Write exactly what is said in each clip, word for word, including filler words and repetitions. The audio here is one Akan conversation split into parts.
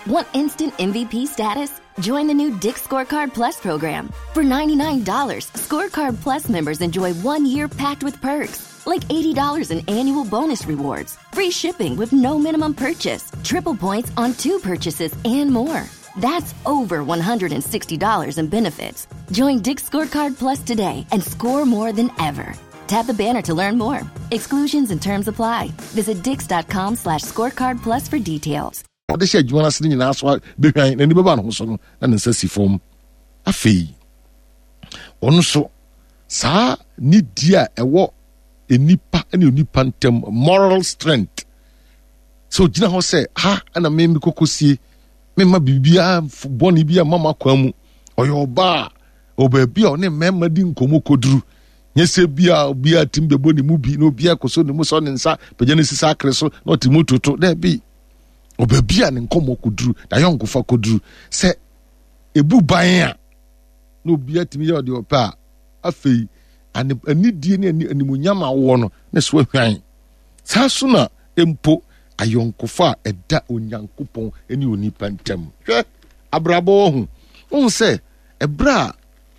Want instant M V P status? Join the new Dick's Scorecard Plus program. For ninety-nine dollars, Scorecard Plus members enjoy one year packed with perks, like eighty dollars in annual bonus rewards, free shipping with no minimum purchase, triple points on two purchases, and more. That's over one hundred sixty dollars in benefits. Join Dick's Scorecard Plus today and score more than ever. Tap the banner to learn more. Exclusions and terms apply. Visit dicks dot com slash scorecard plus for details. Ɔde hyɛ adwuma no ase no nyinaa so bɛhwan n'ani bɛba ne ho so no na ne nsa si fam. Afei ɔno nso saa nidie a ɛwɔ nipa ne onipa ntam, moral strength, sɛ ogyina hɔ sɛ ha ɛna me kɔkɔsie memma biribiara bɔne bi a mama kwan mu. Ɔyɛ ɔbaa a ɔwɔ baabi a ɔne mmarima di nkɔmmɔ kɔduru, nyɛ sɛ bia obiara tim bɛbɔ ne mu bi na obiara kɔ so ne mu sɔ ne nsa pagya ne sisa akere so na ɔte mu toto. Daabi, ɔbaabi a ne nkɔmmɔ kɔduru na ayɔnkofa kɔduru sɛ ebu ban a na obiara tumi yɛ ɔdeɛ ɔpɛ a, afei anidie ne animuonyam a wɔwɔ no ne so ahwan. Saa so na mpo ayɔnkofa a ɛda Onyankopɔn ne onipa ntam. Hwɛ abrabɔ wɔ ho, wohu sɛ ɛberɛ a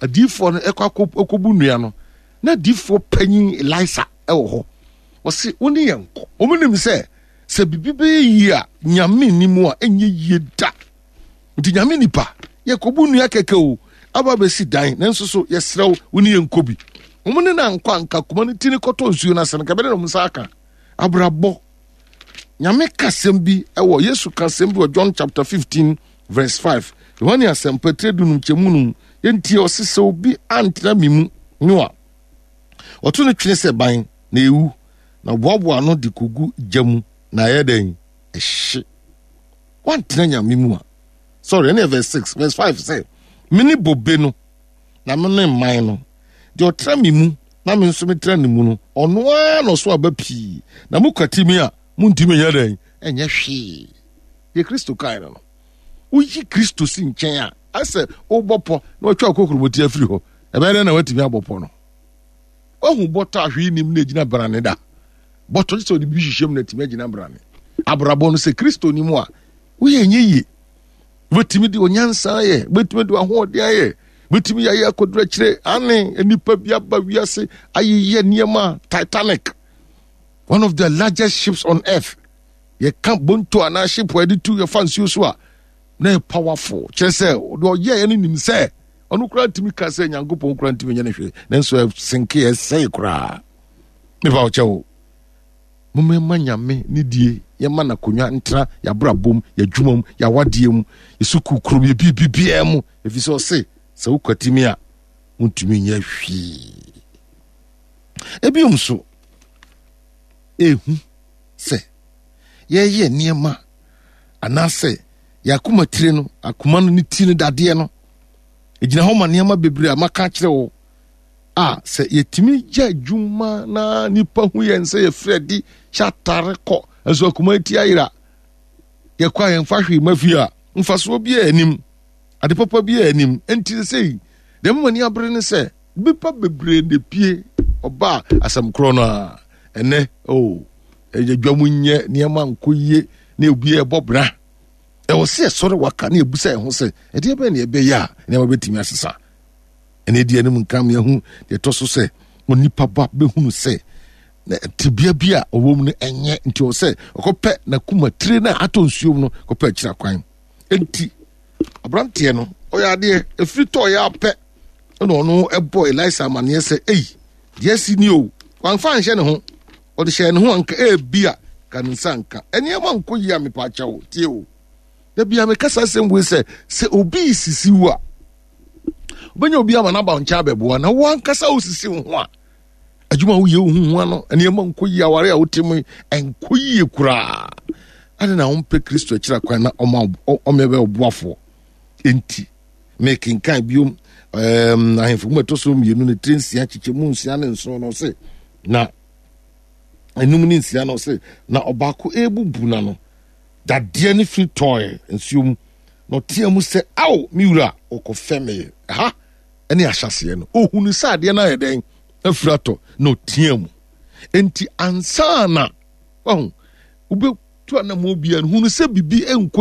adiifoɔ no ɛkɔ akɔbu nnua no na adiifoɔ panyin Elisa ɛwɔ hɔ, ɔse wo ne yɛn nkɔ. Wɔn nim sɛ sɛ biribi bɛyɛ yie a, Nyame ni mu a ɛnyɛ yie da. Nti Nyame nipa, yɛkɔbu nnua kɛkɛ o, aba bɛsi dan, nanso so yɛsrɛ wo, wo ne yɛn nkɔ bi. Wɔn ne na nkɔ anka kuma no ti ne kɔtɔ nsuo no ase no kɛbɛde na wɔn nsa aka. Abrabɔ, Nyame ka asɛm bi ɛwɔ, Yesu ka asɛm bi wɔ John chapter fifteen verse five, Yohane Asɛmpa tire dunum kyɛmu num. Yɛntie. Ɔse sɛ obi antena me mu no a, ɔto no twene sɛ ban na ewu, na boaboa ano de kogu gya mu na ɛyɛ dɛn? Ɛhye. Wantena Nyame mu a, sorry, ɛne verse six, verse five sɛ, "Mene bobe no na me ne mman no. Deɛ ɔtena me mu na me nso metena ne mu no, ɔno ara na ɔso aba pii, na mokwati me a, montumi nyɛ dɛn? Ɛnyɛ hwee." Deɛ Kristo kae no no woyi Kristo si nkyɛn a, asɛ wobɔ pɔ na watwa kokuromoti afiri hɔ. Ɛbɛyɛ dɛn na watumi abɔ pɔ no? Wahu bɔtɔ a hwee nim na egyina brane da. Bɔtɔ sɛ ɔde bi hyehyɛ mu na atumi agyina brane. Abrabɔ no, sɛ Kristo ni mu a, woyɛ nyɛ yie. Wobɛtumi de onyansa ayɛ, wobɛtumi de ahoɔden ayɛ, wobɛtumi yɛayɛ akɔduru akyire. Ane nipa bi aba wiase ayeyɛ nneɛma. Titanic, one of the largest ships on earth, yɛka bonto anaa ship a yɛde tu yɛfa nsuo so a na yɛ powerful, kyerɛ sɛ deɛ ɔyɛɛ no nim sɛ ɔno koraa ntumi ka sɛ Nyankopɔn koraa ntumi nyɛ no hwee, nanso ɛsenke ɛsɛe koraa. Mepa wo kyɛw, momma Nyame ne die, yɛma n'akonnwa ntena yɛabrabɔ mu, yɛadwuma mu, yɛawadeɛ mu, yɛsukuu kurom, yɛ biribibiara mu, ɛfiri sɛ ɔse sɛ wokwatimi a, wontumi nyɛ hwee. Ebiom so ehu sɛ yɛyɛ nneɛma anaasɛ yɛakoma tire no, akoma no ne ti no, dadeɛ no ɛgyina hɔ ma nneɛma bebree a maka akyerɛ wo a, sɛ yɛtumi gya adwuma na nipa hu yɛn sɛ yɛfiri adi hyɛ atare kɔ nso akoma ti ayera, yɛkɔ a yɛmfa hwee ma fie a, mfasoɔ bi a anim, ade papa bi a anim. Nti sɛ deɛ mama ni abere ne sɛ nipa bebree na pie ɔba a asɛm korɔ no a ɛnɛ o ɛyɛ dwa mu nyɛ nneɛma nkɔ yie na obi ɛbɔ bra. Ɛwɔ sɛ yɛsɔre waka na yɛbusa yɛn ho sɛ ɛdeɛ bɛn na yɛbɛyɛ a nneɛma bɛtumi asesa. Ɛna ɛdi anim nka meahu deɛ ɛtɔ so sɛ onipa ba bɛhunu sɛ tebea bi a ɔwɔ mu no ɛnyɛ, nti ɔwɔ sɛ ɔkɔpɛ n'akuma tire no a atɔ nsuo mu no, kɔpɛ akyira kwan. Nti aberanteɛ no ɔyɛ adeɛ ɛfiri tɔɔ yɛ apɛ, ɛna ɔno ɛbɔ Elisa amanneɛ sɛ, "Ei, deɛ asi ni o." Wamfa anhyɛ ne ho, ɔde hyɛ ne ho anka ebi a ka ne nsa nka nneɛma nkɔ yie a. Mepa akyɛw, tie o, da bia meka saa asɛm wei sɛ sɛ obi sisi wo a, wobɛnya obi ama n'aba nkyɛn abɛboa, na wo ankasa wosisi wo ho a, adwuma a woyɛ wo ho ho ano nneɛma nkɔ yie, aware a wote mu nkɔ yie koraa ade na wompɛ Kristo akyira kwan na ɔma ɔmɛ bɛ ɔboafoɔ. Enti mekenkan biom um, Ahemfo mu ɛtɔ so mmienu ne tiri nsia kyekyɛ mu nsia ne nson no, ɔse na enum ne nsia no, ɔse na ɔbaako ebubu na no dadeɛ ne firi tɔɔɛ nsuo mu na ɔtea mu sɛ, "Ao, me wura, ɔkɔfɛ me ha." Ɛne ahyɛseɛ no ohunu sɛ adeɛ no ayɛ dɛn? Afiri atɔ na ɔtea mu. Enti ansa na wahu wobɛtu anammɔ biara no, hunu sɛ biribi nkɔ.